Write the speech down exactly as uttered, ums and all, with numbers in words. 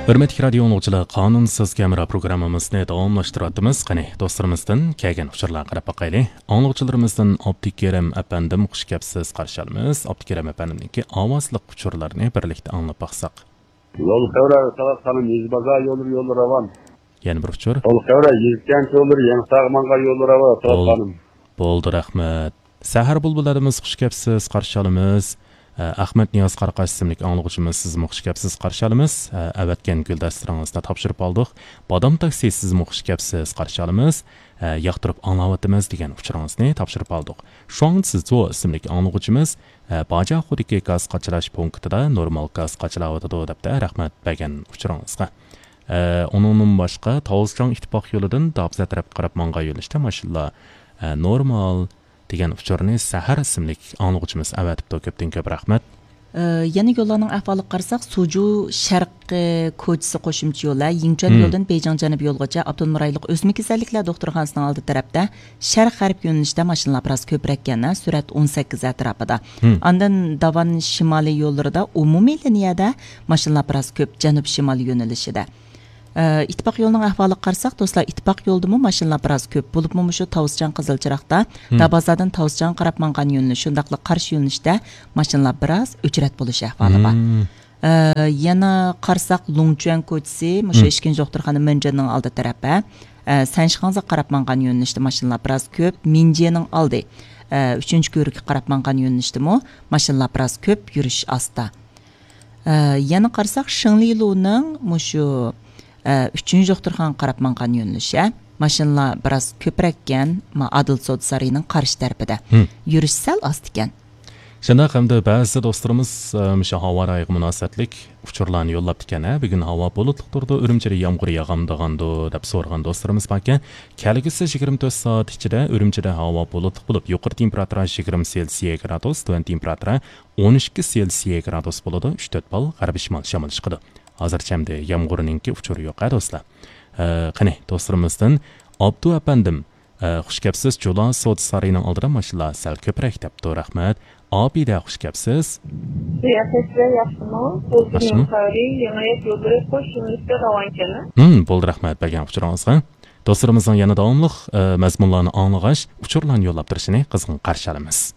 ھۆرمەتلىك رادىيو ئاڭلىغۇچىلار، قانۇنسىز كامېرا پروگراممىمىزنى داۋاملاشتۇرۇۋاتىمىز. قېنى، دوستلىرىمىزدىن كەلگەن ئۇچۇرلارغا قاراپ باقايلى. ئاڭلىغۇچىلىرىمىزدىن ئابدۇكېرىم ئەپەندىم، خۇش كەپسىز، قارشى ئالىمىز. ئابدۇكېرىم ئەپەندىمنىڭكى ئاۋازلىق ئۇچۇرلىرىنى بىرلىكتە ئاڭلاپ باقساق. يول خەۋرە، ساۋاق خانىم، يېزا بازار يوللىرى، يوللىرى راۋان. يەنە بىر ئۇچۇر. يول خەۋرە، يېزا كەنت يوللىرى، يېڭى ساغ ماڭغان يوللىرى راۋان، ساۋاق بول-، خانىم. بولدى، رەھمەت. سەھەر بۇلبۇللىرىمىز، خۇش كەپسىز، قارشى ئالىمىز. ئە، ئەخمەت نىياز قاراقاش ئىسىملىك ئاڭلىغۇچىمىز، سىزمۇ خۇش كەپسىز، قارشى ئالىمىز. ئە، ئەۋەتكەن گۈلدەستىلىرىڭىزنى تاپشۇرۇپ ئالدۇق. بادام تاكسى، سىزمۇ خۇش كەپسىز، قارشى ئالىمىز. ئە، ياقتۇرۇپ ئاڭلاۋاتىمىز دېگەن ئۇچۇرىڭىزنى تاپشۇرۇپ ئالدۇق. شۇاڭ سىزو ئىسىملىك ئاڭلىغۇچىمىز، ئە، باجاخۇدىكى گاز قاچىلاش پونكىتىدا نورمال گاز قاچىلاۋاتىدۇ، دەپتۇ، رەھمەت بەرگەن ئۇچۇرىڭىزغا. ئە، ئۇنىڭدىن باشقا، تاۋۇزچاڭ ئىتتىپاق يولىدىن دابزا تەرەپكە قاراپ ماڭغان يۆنىلىشتە ماشىنىلار، ئە، نورمال دېگەن ئۇچۇرنى سەھەر ئىسىملىك ئاڭلىغۇچىمىز ئەۋەتىپتۇ. كۆپتىن كۆپ رەھمەت. ئە، يەنە يوللارنىڭ ئەھۋالىغا قارىساق، سۇجۇ شەرقىي كوچىسى قوشۇمچە يولى، يىڭچۈەن مم. يولىدىن بېيجىڭ جەنۇبىي يولغىچە ئاپتونوم رايونلۇق ئۆسمە كېسەللىكلەر دوختۇرخانىسىنىڭ ئالدى تەرەپتە شەرق غەرب يۆنىلىشتە ماشىنىلار بىراز كۆپرەككەن، سۈرئەت ئون سەككىز ئەتراپىدا. مم. ئاندىن داۋان شىمالىي يوللىرىدا ئومۇمىي لىنىيەدە ماشىنىلار بىراز كۆپ، جەنۇب شىمال يۆنىلىشىدە. ئە، ئىتتىپاق يولىنىڭ ئەھۋالىغا قارىساق، دوستلار، ئىتتىپاق يولىدىمۇ ماشىنىلار بىراز كۆپ، بولۇپمۇ مۇشۇ تاۋۇزچاڭ قىزىلچىراغدا، مم. دابازادىن تاۋۇزچاڭغا قاراپ ماڭغان يۆنىلىش، شۇنداقلا قارشى يۆنىلىشتە ماشىنىلار بىراز ئۆچرەت بولۇش ئەھۋالى بار. مم. ئە، يەنە قارىساق، لۇڭچۈەن كوچىسى، مۇشۇ مم. ئىككىنچى دوختۇرخانا مېنجېننىڭ ئالدى تەرەپى، ئە، سەنشىخاڭزىغا قاراپ ماڭغان يۆنىلىشتە ماشىنىلار بىراز كۆپ، مىنجېنىڭ ئالدى، ئە، ئۈچىنچى كۆۋرۈككە قاراپ ماڭغان يۆنىلىشتىمۇ ماشىنىلار بىراز كۆپ، يۈرۈش ئاستا. ئە، يەنە قارىساق، شېڭلىلۇنىڭ مۇشۇ، ئە، ئۈچىنچى دوختۇرخانىغا قاراپ ماڭغان يۆنىلىشى. ماشىنىلار بىراز كۆپرەككەن، ما، ئادىل سودا سارىيىنىڭ قارشى تەرىپىدە. ھىم. يۈرۈش سەل ئاستىكەن. شۇنداق، ھەمدە بەزى دوستلىرىمىز، ئە، مۇشۇ ھاۋا رايىغا مۇناسىۋەتلىك ئۇچۇرلارنى يوللاپتىكەن، ھە، بۈگۈن ھاۋا بۇلۇتلۇق تۇرىدۇ، ئۈرۈمچىدە يامغۇر ياغامدىغاندۇ، دەپ سورىغان دوستلىرىمىز باركەن. كەلگۈسى يىگىرمە تۆت سائەت ئىچىدە ئۈرۈمچىدە ھاۋا بۇلۇتلۇق بولۇپ، يۇقىرى تېمپېراتۇرا يىگىرمە سېلسىيە گرادۇس، تۆۋەن تېمپېراتۇرا ئون ئىككى سېلسىيە گرادۇس بولىدۇ، ئۈچ تۆت بال غەربىي شىمال شامىلى چىقىدۇ. ھازىرچە ئەمدى يامغۇرنىڭكى ئۇچۇرى يوق، ھە، دوستلار. ئە، قېنى، دوستلىرىمىزدىن ئابدۇ ئەپەندىم، ئە، خۇش كەپسىز، جۇلا سودا سارىيىنىڭ ئالدىدا ماشىنىلار سەل كۆپرەك دەپتۇ، رەھمەت. ئابىدە، خۇش كەپسىز. قىياسەتلەر ياخشىمۇ؟ ياخشىمۇ؟ سوزۇلما سارى، يېڭى ھايات يوللىرى قوش يۆنىلىشتە راۋانكەن. ھىم، بولدى، رەھمەت بەرگەن ئۇچۇرىڭىزغا. دوستلىرىمىزنىڭ يەنە داۋاملىق، ئە، مەزمۇنلارنى ئاڭلىغاچ، ئۇچۇرلارنى يوللاپ تۇرۇشىنى قىزغىن قارشى ئالىمىز.